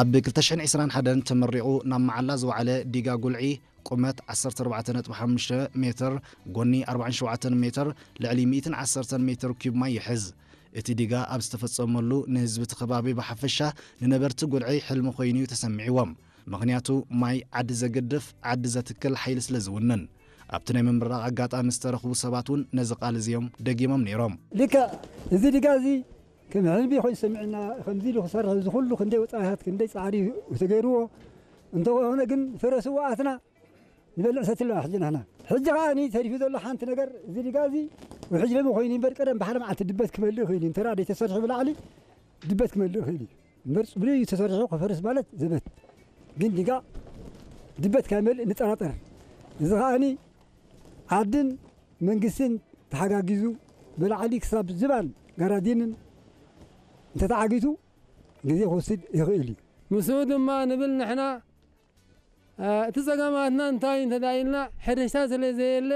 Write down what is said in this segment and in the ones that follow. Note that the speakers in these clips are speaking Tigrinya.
ኣብ ክልተ ሽሕን ዕስራን ሓደን ተመሪቑ ናብ መዓላ ዝወዓለ ዲጋ ጉልዒ፣ ቁመት ዓሰርተ ኣርባዕተ ነጥቢ ሓሙሽተ ሜትር፣ ጎኒ ኣርባዕን ሸውዓተን ሜትር፣ ልዕሊ ሚእትን ዓሰርተን ሜትር ኪዩብ ማይ ይሕዝ። እቲ ዲጋ ኣብ ዝተፈጸመሉ፣ ንህዝቢ እቲ ከባቢ ብሓፈሻ፣ ንነበርቲ ጉልዒ ሕልሚ ኮይኑ እዩ ተሰሚዕዎም። ምኽንያቱ፣ ማይ ዓዲ ዘግድፍ፣ ዓዲ ዘትክል ሓይሊ ስለ ዝውንን። ኣብቲ ናይ ምምራቕ ኣጋጣሚ ዝተረኽቡ ሰባት እውን ነዚ ቃል እዚ እዮም ደጊሞም ነይሮም። ልክዕ፣ እዚ ዲጋ እዚ ከም ሕልሚ ኮይኑ ሰሚዕና፣ ከምዚ ኢሉ ክሰርሕ፣ እዚ ኩሉ ክንደይ ወጻኢታት፣ ክንደይ ጻዕሪ ተገይርዎ፣ እንተኾነ ግን ፈረሱ ኣትና ንበልዕ ሰቲ ኣለና ሕጂ ንሕና። ሕጂ ከኣ ተሪፉ ዘሎ ሓንቲ ነገር፣ እዚ ዲጋ እዚ ውሕጅ ሎሚ ኮይኑ እምበር፣ ቀደም ብሓደ መዓልቲ ድበት ክመልእ ይኽእል እዩ። እንተ ደኣ ዘይተሰሪሑ ብላዕሊ ድበት ክመልእ ይኽእል እዩ። እምበር ጽቡቕ እዩ ተሰሪሑ፣ ክፈርስ ማለት ዘበት። ግን ዲጋ ድበት ካብ መልእ ንጠራጠር። እዚ ከኣ ዓድን መንግስትን ተሓጋጊዙ፣ ብላዕሊ ክሳብ ዝባን ጋራዲንን እንተተዓጊቱ፣ ግዜ ክወስድ ይኽእል እዩ። ምስኡ ድማ ንብል ንሕና፣ እ፣ እቲ ጸገማትና እንታይ እዩ እንተ ደኣ ኢልና፣ ሕርሻ ስለ ዘየለ፣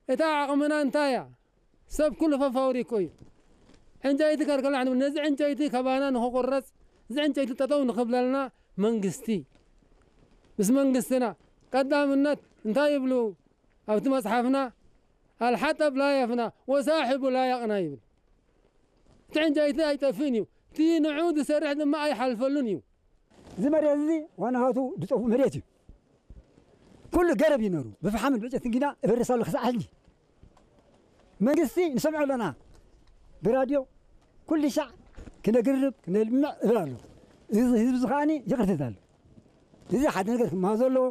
እታ ዓቕምና እንታይ እያ? ሰብ ኩሉ ፈፋብሪኮ እዩ። ዕንጨይቲ ከልከላ ንብል፣ ነዚ ዕንጨይቲ ከባና ንኽቑረጽ፣ እዚ ዕንጨይቲ ጠጠው ንኽብለልና መንግስቲ፣ ምስ መንግስትና ቀዳምነት እንታይ ይብሉ ኣብቲ መጽሓፍና? ኣልሓጠብ ላ የፍና ወሳሒቡ ላ የቕና ይብል። እቲ ዕንጨይቲ ኣይጠፍእን እዩ፣ እቲ ንዑ ዝሰርሕ ድማ ኣይሓልፈሉን እዩ። እዚ መሬት እዚ ዋናሃቱ ዝጠፍኡ መሬት እዩ። ኩሉ ገረብ እዩ ነሩ፣ ብፍሓምን ብዕጨትን ጊና እበርስ ኣሎ ክሳዕ ሕጂ። መንግስቲ ንሰምዖ ኣለና፣ ብራድዮ ኩሉ ሻዕ ክነግርብ ክነልምዕ እብል ኣሎ። እዚ ህዝቢ እዚ ከኣኒ ይቕርትት ኣሎ። እዚ ሓደ ነገር ክመሃዞ ኣለዎ።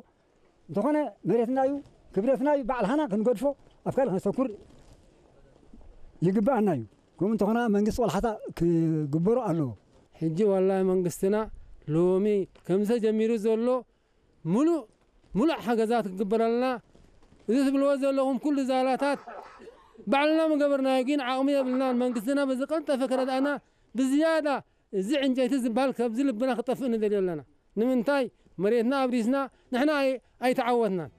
እንተኾነ መሬትና እዩ፣ ክብረትና እዩ፣ ባዕልኻና ክንገድፎ ኣብ ካልእ ከነስተኩር ይግብኣና እዩ። ከምኡ እንተኾነ መንግስቲ ቆልሓታ ክግበሮ ኣለዎ። ሕጂ ዋላ መንግስትና ሎሚ ከምዚ ተጀሚሩ ዘሎ ሙሉእ፣ ሙሉእ ሓገዛት ክግበረልና፣ እዚ ትብልዎ ዘለኹም ኩሉ ዛላታት ባዕልና ምገበርናዮ፣ ግን ዓቕሚ የብልናን። መንግስትና ብዝቀልጠፈ ክረድኣና ብዝያዳ እዚ ዕንጨይቲ ዝበሃል ካብዚ ልብና ክጠፍእ ንደልዮ ኣለና። ንምንታይ? መሬትና ኣብሪስና ንሕና ኣይ-፣ ኣይተዓወትናን።